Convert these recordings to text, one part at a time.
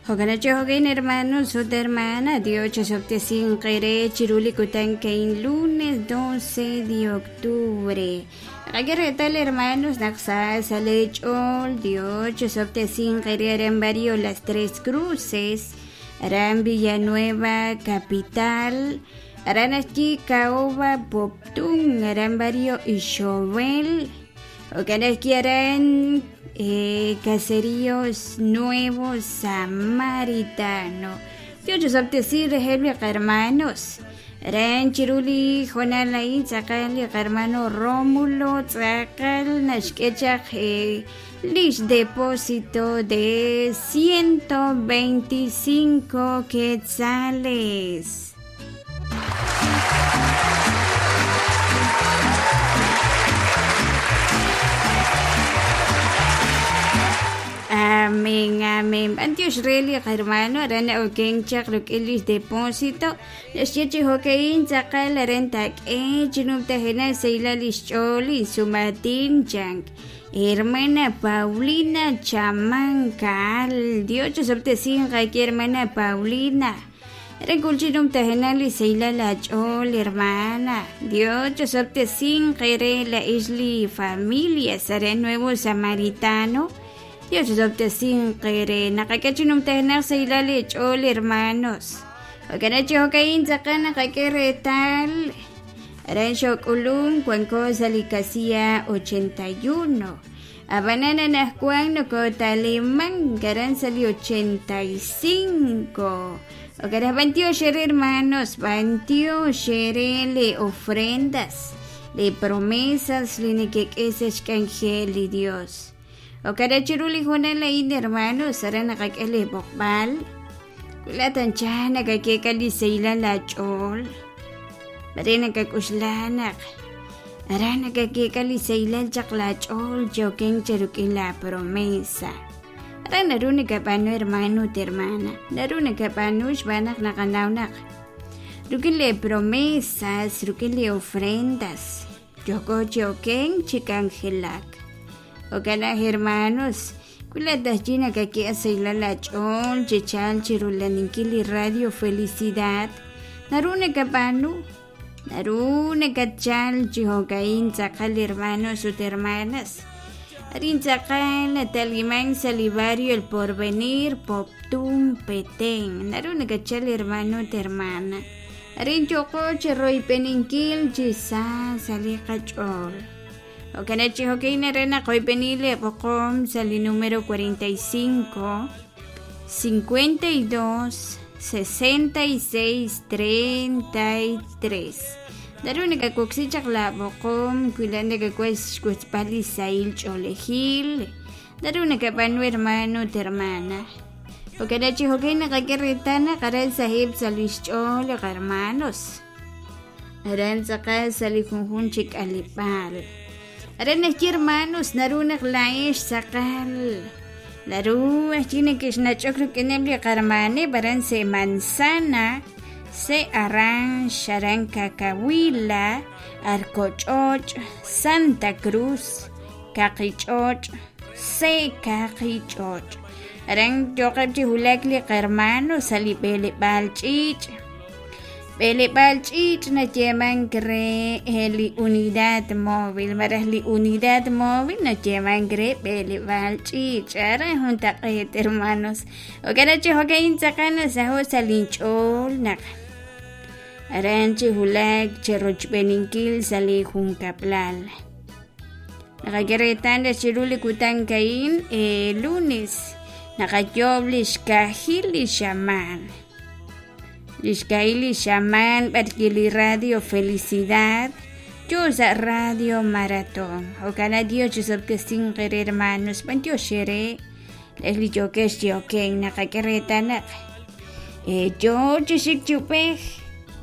Jo'kan hermanos ut hermana, Dios chosob'tesinq eere chiru li kutan ka'in lunes 12 de octubre. Naqak'e reetal hermanos naq sa sa' leech'ool Dios chosob'tesinq eere aran barrio Las Tres Cruces, aran Villanueva Capital, aran ajwi' Caoba Poptún, aran barrio Ixobel, jo'kan ajwi' aran Caseríos Nuevo Samaritano. Dios chosob'tesi reheb' li hermanos. Aran chiru li hoonal a'in tz'aqal li hermano Rómulo tz'aqal naxk'e chaq lix depósito de 125 quetzales. Amén, amén. B'antiox re li hermano aran oken chaq ruk'in lix depósito. Naxye chi jo'ka'in tz'aqal aran tak'e chinumtajena sahilal lix ch'ool insumatin chank. Hermana Paulina Chamancal. Dios chosob'tesinq aki hermana Paulina. Aran kul chinumtajena li sahilal ach'ool hermana. Dios chosob'tesinq ere la isli familia aran Nuevo Samaritano. Dios chosob'tesinq ere naqak'e chinumtajena sahilal lech'ool hermanos. Jo'kan chi jo'ka'in tz'aqal naqak'e reetal aran xok'ulum wanko sa' li casilla 81. Ab'anan anaqwan nokotaliman aran sa' li 85. Jo'kan b'antiox ere hermanos, b'antiox ere le ofrendas, le promesas li nekek'e sa' xk'anjel li Dios. Jo'kan chiru li hoonal a'in hermanos, aran naqak'e li b'oqb'al. Kulatan cha nakak'e li sahilal ach'ool. Mare nakak'uxlanaq. Aran nakak'e li sahilal chaq lach'ool choken cheruk'in la promesa. Aran naru nakab'aanu hermano ut hermana. Naru nakab'aanu xb'aan naq naqanaw ruk'in le promesas, ruk'in le ofrendas. Yoko choken chik'anjelak. Jo'kan hermanos, kulatah chi nakak'e sahilal ach'ool chichal chirulaninkil li Radio Felicidad. Naru nakab'aanu, naru nakachal chi jo'ka'in tz'aqal hermanos ut hermanas. Arin tz'aqal nataliman sa' li barrio El Porvenir, Poptún, Petén. Naru nakachal hermano ut hermana. Arin yoko chiroyb'eninkil chi sa sa' li qach'ool. Jo'kan chi jo'ka'in aran naqoyb'eni li b'oqom sa' li número 45 52 66 33. Naru nakawoksi chaq la b'oqom kuila nakawas xkutzb'al li sahil ch'oolejil. Naru nakab'aanu hermano ut hermana. Jo'kan chi jo'ka'in naqak'e reetal naq aran sahib' sa' lix ch'ool li hermanos. Aran tz'aqal sa' li junjun chi k'aleb'aal. Aran najye hermanos naru naq la'ex tz'aqal. Naru ajwi' nakexnach'ok ruk'ineb' li qarmaneb' aran se manzana, se aranx, aran Cacahuila, Arcoch'och', Santa Cruz, Kaqich'och', se Kaqich'och'. Aran yoqeb' chi wulak li qarmano sa' li b'eleb'aal ch'iich'. B'eleb'aal ch'iich' nayeemank re li unidad móvil, malaj li unidad móvil nayeemank re b'eleb'aal ch'iich'. Aran juntaq'eet hermanos. Jo'kan chi jo'ka'in tz'aqal nasaho' sa' linch'ool naq aran chi wulak chirochb'eninkil sa' li junkab'lal. Naqak'e reetal chiru li kutan ka'in lunes naqayob' li xkajil li xamaan. Li xkajil li xamaan b'arki li Radio Felicidad yo sa' Radio Maratón. Jo'kan Dios chisob'tesinq ere hermanos, b'antiox ere li yokex yoken naqak'e reetal naq yo chi xik chupej.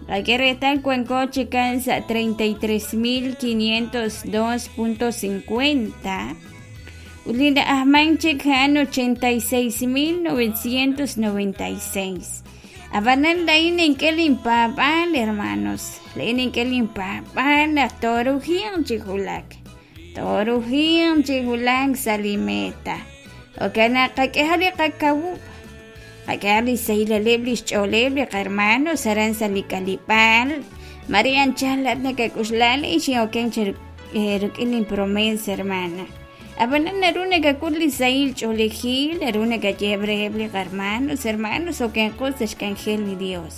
Naqak'e reetal wanko chikan sa' 33,502.50. Ut li na'ajman chik a'an 86,996. Ab'anan la'in ink'e linpaab'aal hermanos. La'in ink'e linpaab'aal naq torujiq chi wulak. Torujiq chi wulak sa' li meta. Jo'kan naq qak'eha li qakawub'. Qak'ehaq li xsahilaleb' li xch'ooleb' li qahermanos aran sa' li k'aleb'aal. Mare anchal laa'at nakak'oxla laa'in xin'okenk chi rik'in linpromes hermana. Ab'anan naru nakak'ul li sahil ch'oolejil, naru nakayeheb' reheb' li qahermanos, hermanos okenqo sa' xk'anjel li Dios.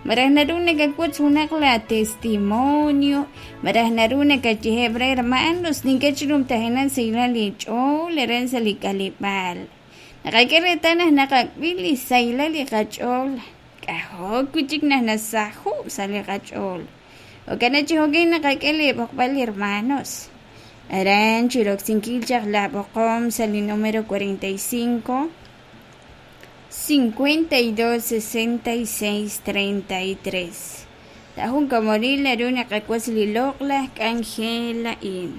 Malaj naru nakawotz junaq laa testimonio, malaj naru nakayeheb' re hermanos nink'e chi numtajenaq sahilal inch'ool aran sa' li k'aleb'aal. Naqak'e reetal naq naqab'i li sahilal li qach'ool, k'ajo' wi' chik naq nasaho' sa' li qach'ool. Jo'kan naq chi jo'kan naqak'e li b'oqb'al hermanos. Aran chi roksinkil chaq la b'oqom sa' li número 45 52 66 33. Sa' jun komonil naru naqawotz li loq'laj k'anjel a'in.